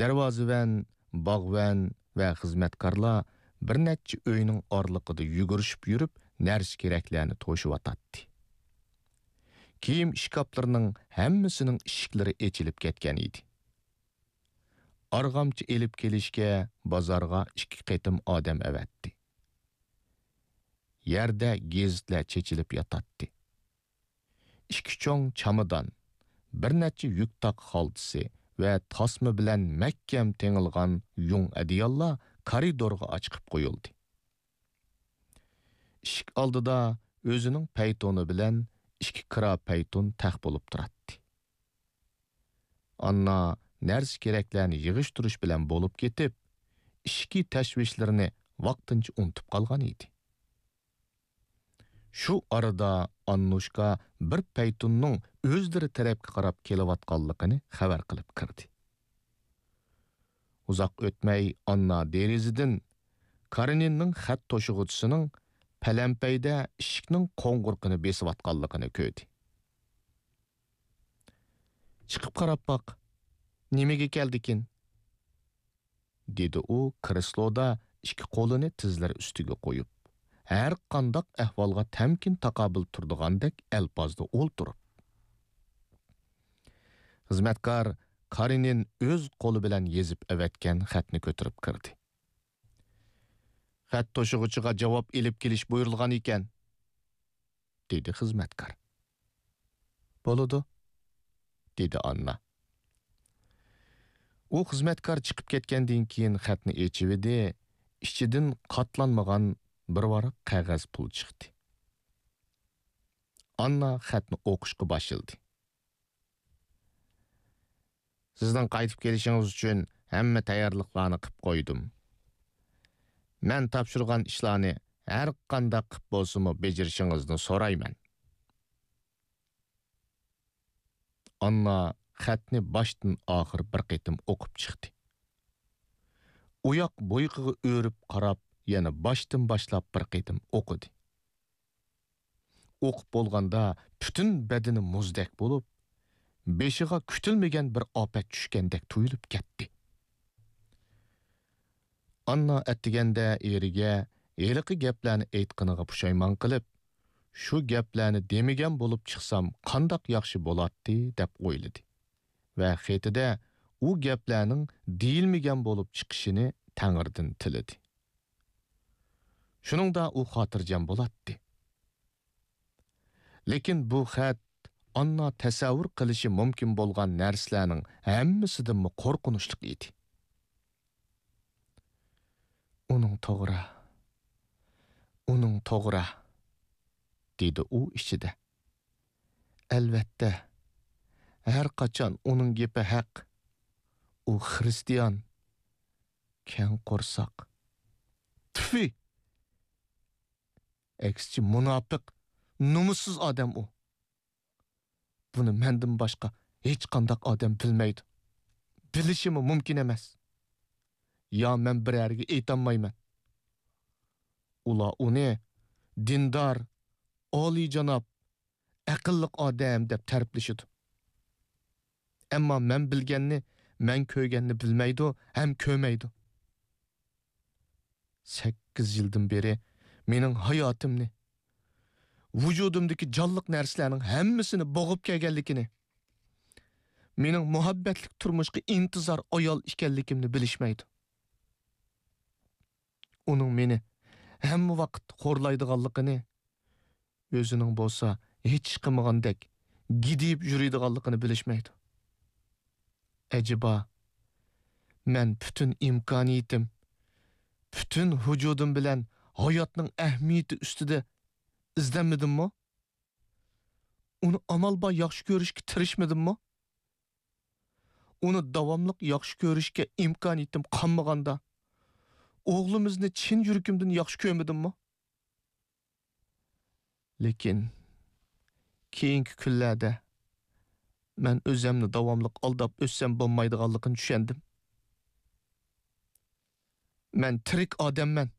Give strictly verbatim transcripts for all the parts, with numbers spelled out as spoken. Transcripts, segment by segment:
دەرۋازىۋەن، باغۋەن ۋە خىزمەتكارلار بىر نەچچە ئۆينىڭ ئارىلىقىدا يۈگۈرۈشۈپ يۈرۈپ، نەرسە-كېرەكلەرنى توشۇۋاتاتتى. كىيىم ئىشكاپلىرىنىڭ ھەممىسىنىڭ ئىشىكلىرى ئېچىلىپ كەتكەن ئىدى. ئارغامچا ئېلىپ كېلىشكە بازارغا ئىككى قېتىم ئادەم ئەۋەتتى. يەردە گېزىتلەر چېچىلىپ ياتاتتى. ئىككى چوڭ چامادان، بىر نەچچە يۈك تاق خالتىسى ۋە تاسما بىلەن مەھكەم تېڭىلغان يۇڭ ئەدىياللار كارىدورغا ئاچىقىپ قويۇلدى. ئىشىك ئالدىدا ئۆزىنىڭ پەيتونى بىلەن ئىككى كىرا پەيتون تەخت بولۇپ تۇراتتى. ئاننا نەرسە-كېرەكلەرنى يىغىشتۇرۇش بىلەن بولۇپ كېتىپ، ئىچكى تەشۋىشلىرىنى ۋاقتىنچە ئۇنتۇپ قالغان ئىدى. شۇ ئارىدا ئاننۇشكا بىر پەيتۇننىڭ ئۆزلىرى تەرەپكە قاراپ كېلىۋاتقانلىقىنى خەۋەر قىلىپ كىردى. ئۇزاق ئۆتمەي ئاننا دېرىزىدىن كارېنىننىڭ خەت توشۇغۇچىسىنىڭ پەلەمپەيدە ئىشىكنىڭ قوڭغۇرىقىنى بېسىۋاتقانلىقىنى كۆردى. «چىقىپ قاراپ باق، نېمىگە كەلدىكىن؟» دېدى ئۇ كرېسلودا ئىككى قولىنى تىزلىرى ئۈستىگە قويۇپ، ھەر قانداق ئەھۋالغا تەمكىن تاقابىل تۇرىدىغاندەك ئەلپازدا ئولتۇرۇپ. خىزمەتكار كارېنىن ئۆز قولى بىلەن يېزىپ ئەۋەتكەن خەتنى كۆتۈرۈپ كىردى. «خەت توشۇغۇچىغا جاۋاب ئېلىپ كېلىش بۇيرۇلغان ئىكەن»، دېدى خىزمەتكار. «بولىدۇ»، دېدى ئاننا. ئۇ خىزمەتكار چىقىپ كەتكەندىن كېيىن خەتنى ئېچىۋىدى، ئىچىدىن قاتلانمىغان بىر ۋاراق قەغەز پۇل چىقتى. ئاننا خەتنى ئوقۇشقا باشلىدى. «سىزنىڭ قايتىپ كېلىشىڭىز ئۈچۈن ھەممە تەييارلىقلارنى قىپ قويدۇم. مەن تاپشۇرغان ئىشلارنى ھەر قانداق قىپ بولسىمۇ بېجىرىشىڭىزنى سورايمەن.» ئاننا خەتنى باشتىن ئاخىر بىر قېتىم ئوقۇپ چىقتى. ئۇياق بۇيىقىغا ئۆرۈپ قاراپ، يەنە باشتىن باشلاپ بىر قېتىم ئوقۇدى. ئوقۇپ بولغاندا پۈتۈن بەدىنى مۇزدەك بولۇپ، بېشىغا كۈتۈلمىگەن بىر ئاپەت چۈشكەندەك تۇيۇلۇپ كەتتى. ئاننا ئەتىگەندە ئېرىگە ھېلىقى گەپلەرنى ئېيتقىنىغا پۇشايمان قىلىپ، «شۇ گەپلەرنى دېمىگەن بولۇپ چىقسام قانداق ياخشى بولاتتى» دەپ ئويلىدى ۋە خېتىدە ئۇ گەپلەرنىڭ دېيىلمىگەن بولۇپ چىقىشىنى تەڭرىدىن تىلىدى. شۇنىڭدا ئۇ خاتىرجەم بولاتتى. لېكىن بۇ خەت ئاننا تەسەۋۋۇر قىلىشى مۇمكىن بولغان نەرسىلەرنىڭ ھەممىسىدىنمۇ قورقۇنچلۇق ئىدى. «ئۇنىڭ توغرا، ئۇنىڭ توغرا»، دېدى ئۇ ئىچىدە. «ئەلۋەتتە، ھەر قاچان ئۇنىڭ گېپى ھەق. ئۇ خىرىستىيان، كەڭ قورساق. تۈفى! ئەكسىچە، مۇناپىق، نومۇسسىز ئادەم ئۇ. بۇنى مەندىن باشقا ھېچقانداق ئادەم بىلمەيدۇ. بىلىشىمۇ مۇمكىن ئەمەس. يا مەن بىرەرگە ئېيتالمايمەن. ئۇلار ئۇنى دىندار، ئالىيجاناب، ئەقىللىق ئادەم دەپ تەرىپلىشىدۇ. ئەمما مەن بىلگەننى، مەن كۆرگەننى بىلمەيدۇ ھەم كۆرمەيدۇ. سەككىز يىلدىن بېرى مېنىڭ ھاياتىمنى، ۋۇجۇدۇمدىكى جانلىق نەرسىلەرنىڭ ھەممىسىنى بوغۇپ كەلگەنلىكىنى، مېنىڭ مۇھەببەتلىك تۇرمۇشقا ئىنتىزار ئايال ئىكەنلىكىمنى بىلىشمەيدۇ. ئۇنىڭ مېنى ھەممە ۋاقىت خورلايدىغانلىقىنى، ئۆزىنىڭ بولسا ھېچ ئىش قىلمىغاندەك گىدىيىپ يۈرىدىغانلىقىنى بىلىشمەيدۇ. ئەجەبا، مەن پۈتۈن ئىمكانىيىتىم، پۈتۈن ۋۇجۇدۇم بىلەن ھاياتنىڭ ئەھمىيىتى ئۈستىدە ئىزدەنمىدىممۇ؟ ئۇنى ئامال بار ياخشى كۆرۈشكە تىرىشمىدىممۇ؟ ئۇنى داۋاملىق ياخشى كۆرۈشكە ئىمكانىيىتىم قالمىغاندا، ئوغلىمىزنى چىن يۈرىكىمدىن ياخشى كۆرمىدىممۇ؟ لېكىن كېيىنكى كۈنلەردە مەن ئۆزۈمنى داۋاملىق ئالداپ ئۆتسەم بولمايدىغانلىقىنى چۈشەندىم. مەن تىرىك ئادەممەن،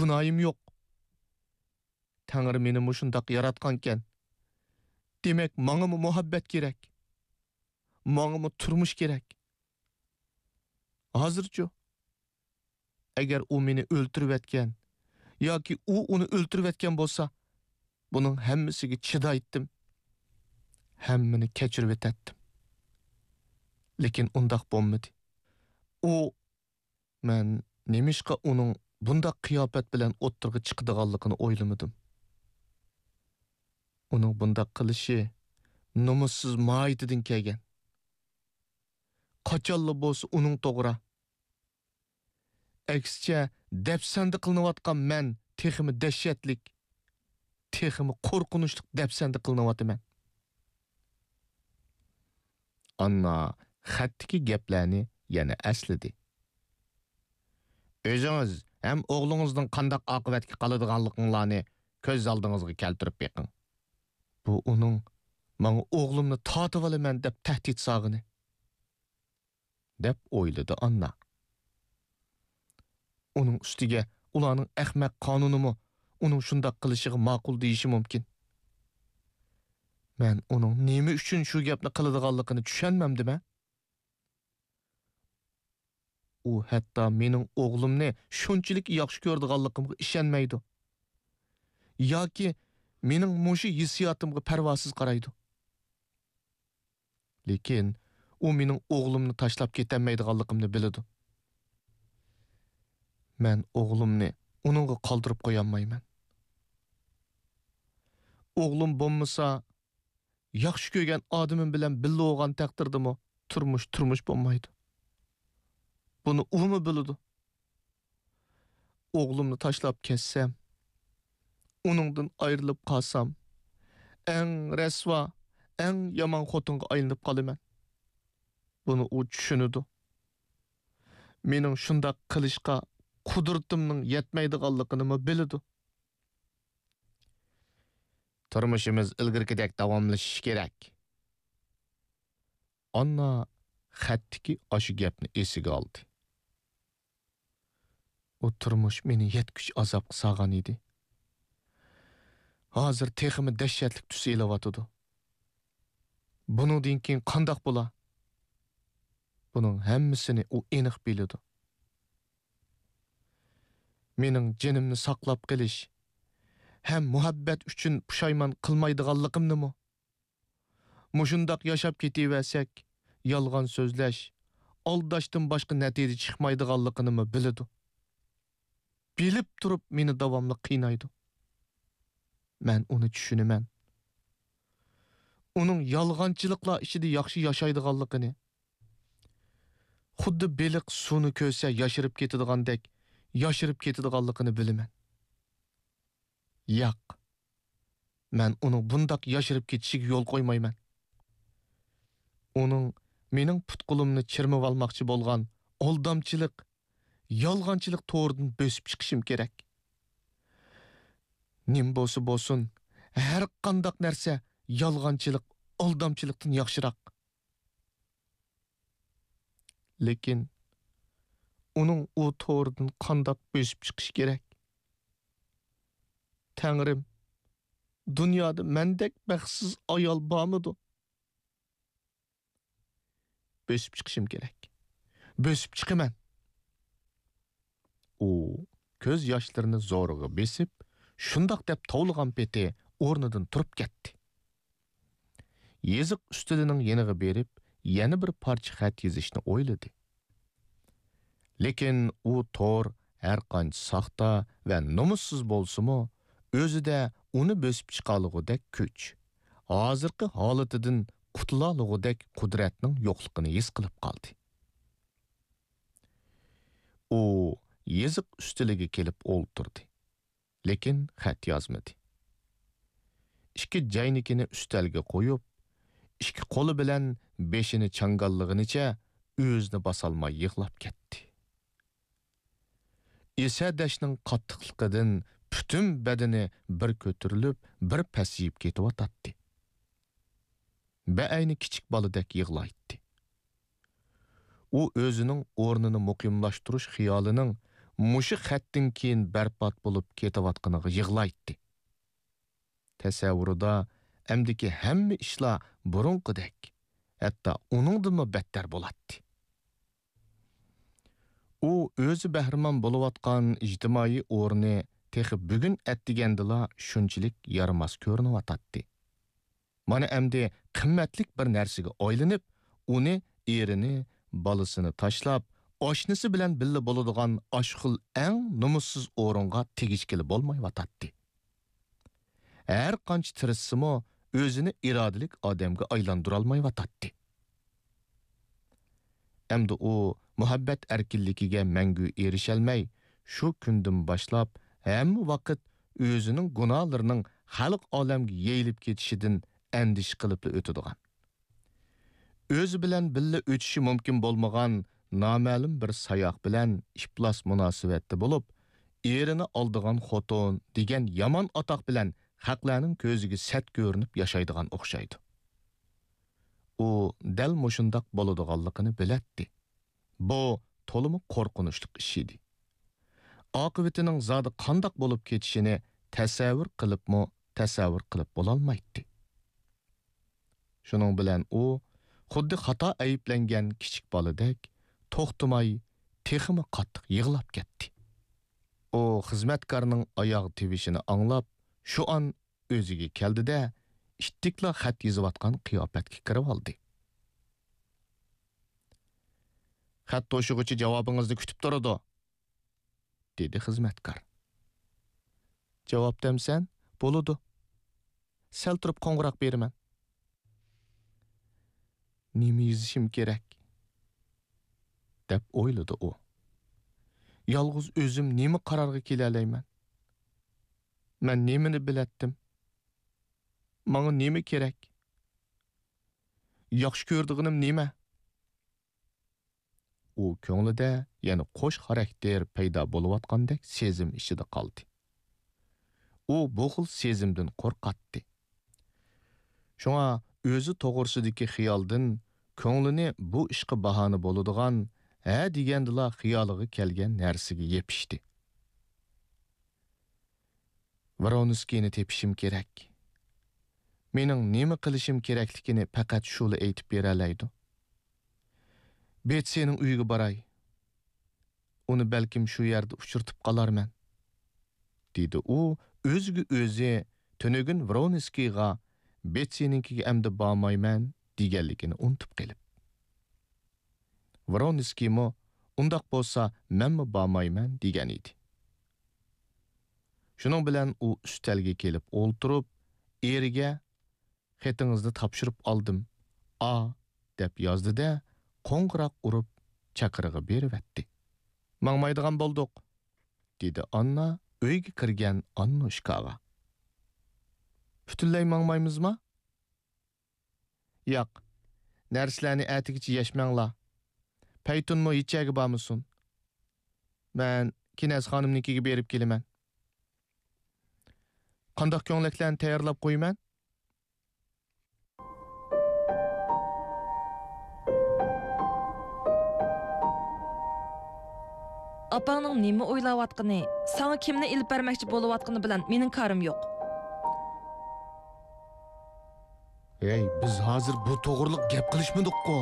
گۇناھىم يوق. تەڭرى مېنى مۇشۇنداق ياراتقانكەن. دېمەك، ماڭىمۇ مۇھەببەت كېرەك. ماڭىمۇ تۇرمۇش كېرەك. ھازىرچۇ؟ ئەگەر ئۇ مېنى ئۆلتۈرۈۋەتكەن ياكى ئۇ ئۇنى ئۆلتۈرۈۋەتكەن بولسا، بۇنىڭ ھەممىسىگە چىدايتتىم. ھەممىنى كەچۈرۈۋېتەتتىم. لېكىن ئۇنداق بولمىدى. ئۇ، مەن نېمىشقا ئۇنىڭ بۇنداق قىياپەت بىلەن ئوتتۇرىغا چىقىدىغانلىقىنى ئويلىمىدىم. ئۇنىڭ بۇنداق قىلىشى نومۇسسىز ماھىيىتىدىن كەلگەن. قاچانلا بولسا ئۇنىڭ توغرا. ئەكسىچە، دەپسەندە قىلىنىۋاتقان مەن تېخىمۇ دەھشەتلىك، تېخىمۇ قورقۇنچلۇق دەپسەندە قىلىنىۋاتىمەن. ئاننا خەتتىكى گەپلەرنى يەنە ئەسلىدى. ئۆزىڭىز ھەم ئوغلىڭىزنىڭ قانداق ئاقىۋەتكە قالىدىغانلىقىڭلارنى كۆز ئالدىڭىزغا كەلتۈرۈپ بېقىڭ. بۇ ئۇنىڭ ماڭا ئوغلۇمنى تارتىۋالىمەن دەپ تەھدىت سالغىنى، دەپ ئويلىدى ئاننا. ئۇنىڭ ئۈستىگە ئۇلارنىڭ ئەخمەق قانۇنىمۇ ئۇنىڭ شۇنداق قىلىشىغا ماقۇل دېيىشى مۇمكىن. مەن ئۇنىڭ نېمە ئۈچۈن شۇ گەپنى قىلىدىغانلىقىنى چۈشەنمەمدىمەن؟ ئۇ ھەتتا مېنىڭ ئوغلۇمنى شۇنچىلىك ياخشى كۆرىدىغانلىقىمغا ئىشەنمەيدۇ. ياكى مېنىڭ مۇشۇ ھېسسىياتىمغا پەرۋاسىز قارايدۇ. لېكىن ئۇ مېنىڭ ئوغلۇمنى تاشلاپ كېتەلمەيدىغانلىقىمنى بىلىدۇ. مەن ئوغلۇمنى ئۇنىڭغا قالدۇرۇپ قويالمايمەن. ئوغلۇم بولمىسا، ياخشى كۆرگەن ئادىمىم بىلەن بىللە بولغان تەقدىردىمۇ تۇرمۇش تۇرمۇش بولمايدۇ. بۇنى ئۇمۇ بىلىدۇ. ئوغلۇمنى تاشلاپ كەتسەم، ئۇنىڭدىن ئايرىلىپ قالسام، ئەڭ رەسۋا، ئەڭ يامان خوتۇنغا ئايلىنىپ قالىمەن. بۇنى ئۇ چۈشىنىدۇ. مېنىڭ شۇنداق قىلىشقا قۇدرىتىمنىڭ يەتمەيدىغانلىقىنىمۇ بىلىدۇ. تۇرمۇشىمىز ئىلگىرىكىدەك داۋاملىشىشى كېرەك. ئاننا خەتتىكى ئاشۇ گەپنى ئېسىگە ئالدى. ئۇ تۇرمۇش مېنى يەتكۈچە ئازابقا سالغان ئىدى. ھازىر تېخىمۇ دەھشەتلىك تۈس ئېلىۋاتىدۇ. بۇنىڭدىن كېيىن قانداق بولا؟ بۇنىڭ ھەممىسىنى ئۇ ئېنىق بىلىدۇ. مېنىڭ جېنىمنى ساقلاپ قېلىش ھەم مۇھەببەت ئۈچۈن پۇشايمان قىلمايدىغانلىقىمنىمۇ، مۇشۇنداق ياشاپ كېتىۋەرسەك، يالغان سۆزلەش، ئالداشتىن باشقا نەتىجە چىقمايدىغانلىقىنىمۇ بىلىدۇ. بىلىپ تۇرۇپ مېنى داۋاملىق قىينايدۇ. مەن ئۇنى چۈشىنىمەن. ئۇنىڭ يالغانچىلىقلار ئىچىدە ياخشى ياشايدىغانلىقىنى، خۇددى بېلىق سۇنى كۆرسە ياشىرىپ كېتىدىغاندەك ياشىرىپ كېتىدىغانلىقىنى بىلىمەن. ياق، مەن ئۇنىڭ بۇنداق ياشىرىپ كېتىشىگە يول قويمايمەن. ئۇنىڭ مېنىڭ پۇت-قولۇمنى چىرمىۋالماقچى بولغان ئالدامچىلىق، يالغانچىلىق تورىدىن بۆسۈپ چىقىشىم كېرەك. نېمە بولسا بولسۇن، ھەر قانداق نەرسە يالغانچىلىق، ئالدامچىلىقتىن ياخشىراق. لېكىن ئۇنىڭ ئۇ تورىدىن قانداق بۆسۈپ چىقىشى كېرەك؟ تەڭرىم، دۇنيادا مەندەك بەختسىز ئايال بارمىدۇ؟ بۆسۈپ چىقىشىم كېرەك. بۆسۈپ چىقىمەن. ئۇ كۆز ياشلىرىنى زورىغا بېسىپ، شۇنداق دەپ توۋلىغان پېتى ئورنىدىن تۇرۇپ كەتتى. يېزىق ئۈستىلىنىڭ يېنىغا بېرىپ، يەنە بىر پارچە خەت يېزىشنى ئويلىدى. لېكىن ئۇ تور ھەرقانچە ساختا ۋە نومۇسسىز بولسىمۇ، ئۆزىدە ئۇنى بۆسۈپ چىقالىغۇدەك كۈچ، ھازىرقى ھالىتىدىن قۇتۇلالىغۇدەك قۇدرەتنىڭ يوقلۇقىنى ھېس قىلىپ قالدى. ئۇ يېزىق ئۈستىلىگە كېلىپ ئولتۇردى، لېكىن خەت يازمىدى. ئىككى جەينىكىنى ئۈستەلگە قويۇپ، ئىككى قولى بىلەن بېشىنى چاڭگاللىغىنىچە ئۆزىنى باسالماي يىغلاپ كەتتى. ئېسەدەشنىڭ قاتتىقلىقىدىن پۈتۈن بەدىنى بىر كۆتۈرۈلۈپ، بىر پەسىيىپ كېتىۋاتاتتى. بەئەينى كىچىك بالىدەك يىغلايتتى. ئۇ ئۆزىنىڭ ئورنىنى مۇقىملاشتۇرۇش خىيالىنىڭ مۇشۇ خەتتىن كېيىن بەربات بولۇپ كېتىۋاتقىنىغا يىغلايتتى. تەسەۋۋۇرىدا ئەمدىكى ھەممە ئىشلار بۇرۇنقىدەك، ھەتتا ئۇنىڭدىنمۇ بەتتەر بولاتتى. ئۇ ئۆزى بەھرىمەن بولۇۋاتقان ئىجتىمائىي ئورنى تېخى بۈگۈن ئەتىگەندىلا شۇنچىلىك يارىماس كۆرۈنۈۋاتاتتى. مانا ئەمدى قىممەتلىك بىر نەرسىگە ئايلىنىپ، ئۇنى، ئېرىنى، بالىسىنى تاشلاپ، ئاشنىسى بىلەن بىللە بولىدىغان ئاشۇ خىل ئەڭ نومۇسسىز ئورۇنغا تېگىشكىلى بولمايۋاتاتتى. ھەر قانچە تىرىشسىمۇ، ئۆزىنى ئىرادىلىك ئادەمگە ئايلاندۇرالمايۋاتاتتى. ئەمدى ئۇ مۇھەببەت ئەركىنلىكىگە مەڭگۈ ئېرىشەلمەي، شۇ كۈندىن باشلاپ ھەممە ۋاقىت ئۆزىنىڭ گۇناھلىرىنىڭ خەلق ئالەمگە يېيىلىپ كېتىشىدىن ئەندىشە قىلىپلا ئۆتىدىغان، ئۆزى بىلەن بىللە ئۆتۈشى مۇمكىن بولمىغان نامەلۇم بىر ساياق بىلەن ئىپلاس مۇناسىۋەتتە بولۇپ، ئېرىنى ئالدىغان خوتۇن دېگەن يامان ئاتاق بىلەن خەقلەرنىڭ كۆزىگە سەت كۆرۈنۈپ ياشايدىغان ئوخشايدۇ. ئۇ دەل مۇشۇنداق بولىدىغانلىقىنى بىلەتتى. بۇ تولىمۇ قورقۇنچلۇق ئىش ئىدى. ئاقىۋىتىنىڭ زادى قانداق بولۇپ كېتىشىنى تەسەۋۋۇر قىلىپمۇ تەسەۋۋۇر قىلىپ بولالمايتتى. شۇنىڭ بىلەن ئۇ خۇددى خاتا ئەيىبلەنگەن كىچىك بالىدەك توختىماي تېخىمۇ قاتتىق يىغلاپ كەتتى. ئۇ خىزمەتكارنىڭ ئاياغ تىۋىشىنى ئاڭلاپ، شۇ ئان ئۆزىگە كەلدى-دە، ئىتتىكلا خەت يېزىۋاتقان قىياپەتكە كىرىۋالدى. «خەت توشۇغۇچى جاۋابىڭىزنى كۈتۈپ تۇرىدۇ»، دېدى خىزمەتكار. «جاۋاب دەمسەن، بولىدۇ. سەل تۇرۇپ قوڭغۇراق بېرىمەن.» «نېمە يېزىشىم كېرەك؟» دەپ ئويلىدى ئۇ. «يالغۇز ئۆزۈم نېمە قارارغا كېلەلەيمەن؟ مەن نېمىنى بىلەتتىم؟ ماڭا نېمە كېرەك؟ ياخشى كۆرىدىغىنىم نېمە؟» ئۇ كۆڭلىدە يەنە قوش خاراكتېر پەيدا بولۇۋاتقاندەك سېزىم ئىچىدە قالدى. ئۇ بۇ خىل سېزىمدىن قورقاتتى. شۇڭا ئۆزى توغرىسىدىكى خىيالدىن كۆڭلىنى بۇ ئىشقا باھانە بولىدىغان، ھە دېگەندىلا خىيالىغا كەلگەن نەرسىگە يېپىشتى. «ۋرونسكىينى تېپىشىم كېرەك. مېنىڭ نېمە قىلىشىم كېرەكلىكىنى پەقەت شۇلا ئېيتىپ بېرەلەيدۇ. بېتسىنىڭ ئۆيىگە باراي. ئۇنى بەلكىم شۇ يەردە ئۇچرىتىپ قالارمەن»، دېدى ئۇ ئۆزىگە ئۆزى تۈنۈگۈن ۋرونسكىيغا «بېتسىنىڭكىگە ئەمدى بارمايمەن» دېگەنلىكىنى ئۇنتۇپ قېلىپ. ۋرونسكىيمۇ «ئۇنداق بولسا مەنمۇ بارمايمەن» دېگەن ئىدى. شۇنىڭ بىلەن ئۇ ئۈستەلگە كېلىپ ئولتۇرۇپ، ئېرىگە «خېتىڭىزنى تاپشۇرۇپ ئالدىم، ئا» دەپ يازدى-دە، قوڭغۇراق ئۇرۇپ چاقىرىقى بېرىۋەتتى. «ماڭمايدىغان بولدۇق»، دېدى ئاننا ئۆيگە كىرگەن ئاننۇشكاغا. «پۈتۈنلەي ماڭمايمىزما؟» «ياق، نەرسىلەرنى ئەتىگىچە يەشمەڭلار. پەيتۇنمۇ ھېچ يەرگە بارمىسۇن. مەن كىنەز خانىمنىڭكىگە بېرىپ كېلىمەن. قانداق كۆڭلەكلەرنى تەييارلاپ قويىمەن؟» ئاپاڭنىڭ نېمە ئويلاۋاتقىنى، ساڭا كىمنى ئېلىپ بەرمەكچى بولۇۋاتقىنى بىلەن مېنىڭ كارىم يوق. ھەي، بىز ھازىر بۇ توغرىلىق گەپ قىلىشمىدۇققۇ؟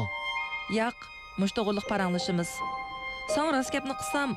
ياق، مۇشۇ توغرىلىق پاراڭلىشىمىز. ساڭا راست گەپنى قىلسام،